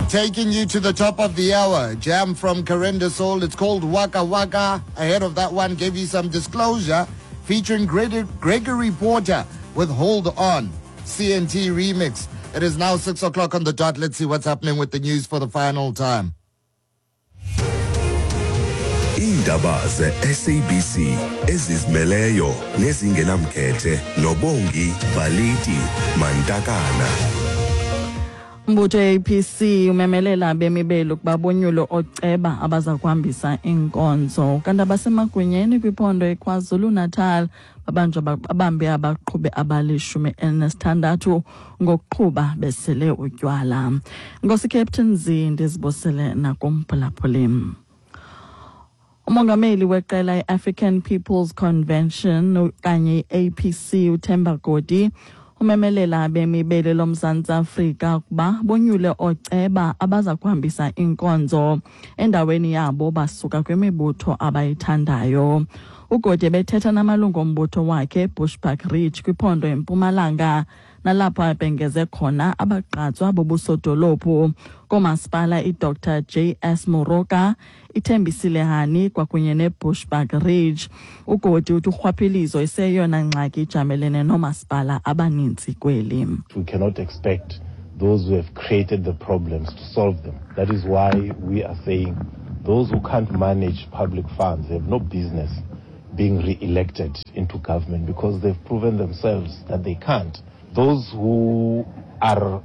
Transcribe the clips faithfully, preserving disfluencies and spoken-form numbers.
Taking you to the top of the hour, jam from Karenda Soul. It's called Waka Waka. Ahead of that one, gave you some disclosure featuring Gregory Porter with Hold On, C N T remix. It is now six o'clock on the dot. Let's see what's happening with the news for the final time. Iindaba ze-S A B C ezizimeleyo nezingenamkhethe noBongi Baliti Mantakana. Umbutho A P C umemelela abemi beli ukuba bonyule ooceba abaza kuhambisa iinkonzo. Kanti abasemagunyeni kwiphondo eKwaZulu-Natal babanjwa babambe abaqhubi abalishumi elinesithandathu ngokuqhuba besele utywala. Nkosi Captain Z ndizibosele nakumphulaphuli. Umongameli weqela i-African People's Convention okanye i-A P C uThemba Godi umemelela abemi beli loMzantsi Afrika ukuba bonyule ooceba abaza kuhambisa iinkonzo endaweni yabo basuka kwimibutho abayithandayo. uGodi ebethetha namalungu ombutho wakhe Bushbuckridge kwiphondo eMpumalanga nalapho abhengeze khona abagqatswa bobusodolophu koomasipala iDr J S Moroka, iThembisile Hani kwakunye neBushbuckridge. uGodi uthi urhwaphilizo iseyona ngxaki ijamelene noomasipala abaninzi kweli. We cannot expect those who have created the problems to solve them. That is why we are saying those who can't manage public funds have no business being re-elected into government because they've proven themselves that they can't. Those who are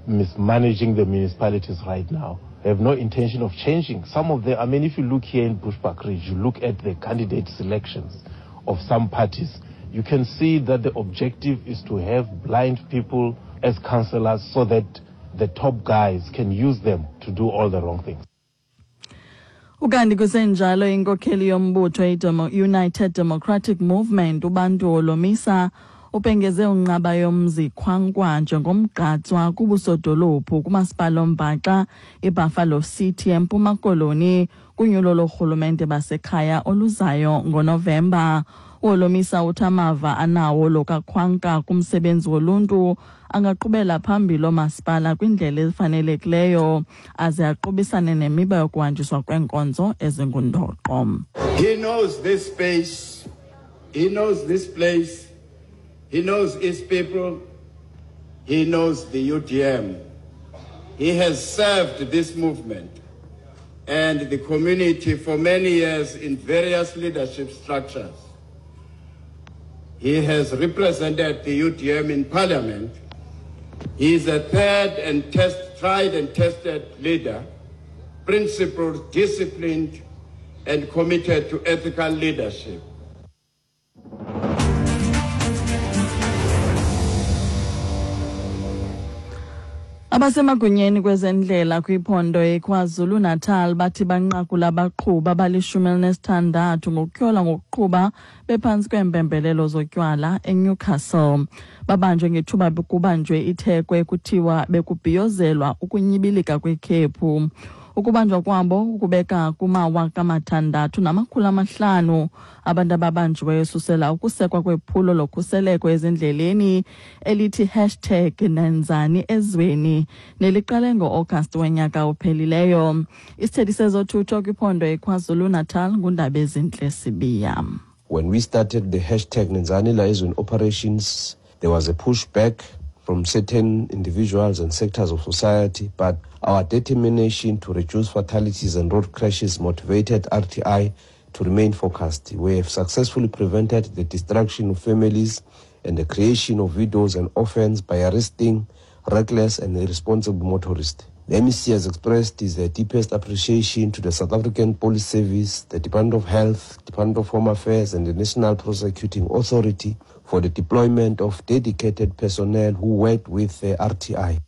mismanaging the municipalities right now have no intention of changing. Some of them, I mean, if you look here in Bushbuckridge, you look at the candidate selections of some parties, you can see that the objective is to have blind people as councillors so that the top guys can use them to do all the wrong things. Ukanti kusenjalo inkokheli yombutho i-United Democratic Movement uBantu Holomisa ubhengeze unqaba yomzi Khwankwa njengomgqatswa kubusodolophu kumasipala ombhaxa iBuffalo City eMpuma Koloni kunyulo lorhulumente basekhaya oluzayo ngoNovemba. uHolomisa uthi amava anawo lo kaKhwanka kumsebenzi woluntu angaqhubela phambili oomasipala kwindlela efanelekileyo aze aqubisane nemiba yokuhanjiswa kweenkonzo ezingundoqo. He knows this space, he knows this place, he knows his people, he knows the U D M. He has served this movement and the community for many years in various leadership structures. He has represented the U D M in parliament. He is a third and test, tried and tested leader, principled, disciplined, and committed to ethical leadership. Abasemagunyeni kwezendlela kwiphondo eKwaZulu-Natal bathi banqakula abaqhubi abalishumi elinesithandathu ngokutyholwa ngokuqhuba bephantsi kweempembelelo zotywala eNewcastle. Babanjwe ngethuba kubanjwe ithekwe kuthiwa bekubhiyozelwa ukunyibilika kwekhephu. Ukubanjwa kwabo ukubeka kumawaka amathandathu namakhulu amahlanu abantu ababanjiweyo susela ukusekwa kwephulo lokhuseleko ezindleleni elithi hashtag nenzani ezweni neliqale ngo-August wonyaka ophelileyo. Isithethi sezothutho kwiphondo eKwaZulu-Natal nguNdabezinhle Sibiya. When we started the hashtag Nenzani Liaison operations, there was a pushback from certain individuals and sectors of society, but our determination to reduce fatalities and road crashes motivated R T I to remain focused. We have successfully prevented the destruction of families and the creation of widows and orphans by arresting reckless and irresponsible motorists. The M E C has expressed his deepest appreciation to the South African Police Service, the Department of Health, Department of Home Affairs and the National Prosecuting Authority for the deployment of dedicated personnel who worked with the R T I.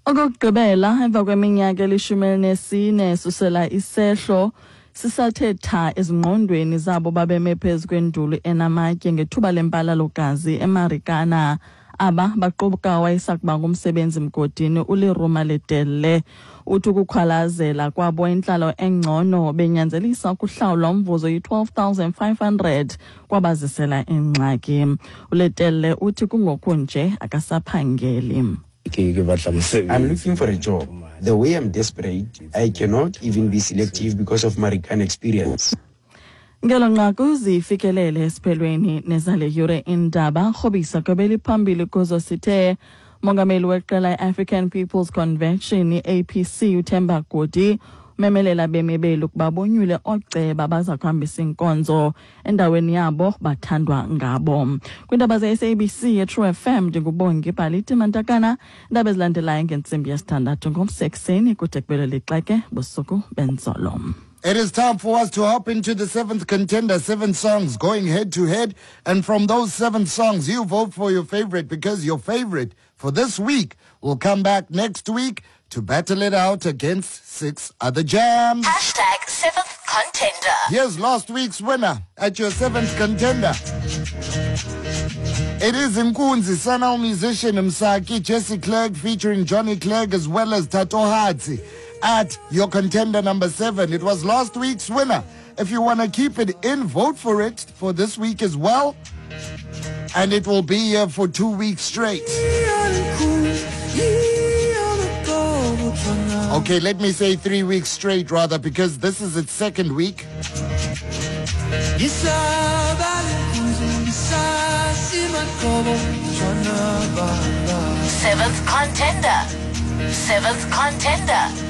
Okokugqibela emva kweminyaka elishumi elinesine susela isehlo sisathe tha ezingqondweni zabo babeme phezu kwenduli enamatye ngethuba lempalalogazi eMarikana. Aba baqubuka wayesakuba ngumsebenzi mgodini uLeruma Letelle. Uthi ukukhwalazela kwabo intlalo engcono benyanzelisa ukuhlawulwa umvuzo yi-twelve thousand five hundred kwabazisela ingxaki. uLetelle uthi kungoku nje akasaphangeli. I'm looking for a job. The way I'm desperate, I cannot even be selective because of Marikana experience. Ngelo nqaku zifikelele esiphelweni nezale yure indaba rhobisa kwebeli phambili kuzo sithe mongameli weqela i-African People's Convention i-A P C uThemba Godi umemelela bemi beli ukuba bonyule ooceba baza kuhambisa inkonzo endaweni yabo bathandwa ngabo. Kwiindaba ze-S A B C ye-True F M ndinguBongi Bhaliti Mantakana. Iindaba ezilandelayo ngentsimbi yesithandathu ngomsekuseni kude kubele lixeke busuku benzolo. It is time for us to hop into the seventh contender, seven songs going head to head. And from those seven songs, you vote for your favorite, because your favorite for this week will come back next week to battle it out against six other jams. Hashtag seventh contender. Here's last week's winner at your seventh contender. It is Nkunzi, Sanal musician Msaki, Jesse Clerk featuring Johnny Clegg as well as Tato Hatsi at your contender number seven. It was last week's winner. If you want to keep it in, vote for it for this week as well. And it will be here for two weeks straight. Okay, let me say three weeks straight rather, because this is its second week. Seventh contender. Seventh contender.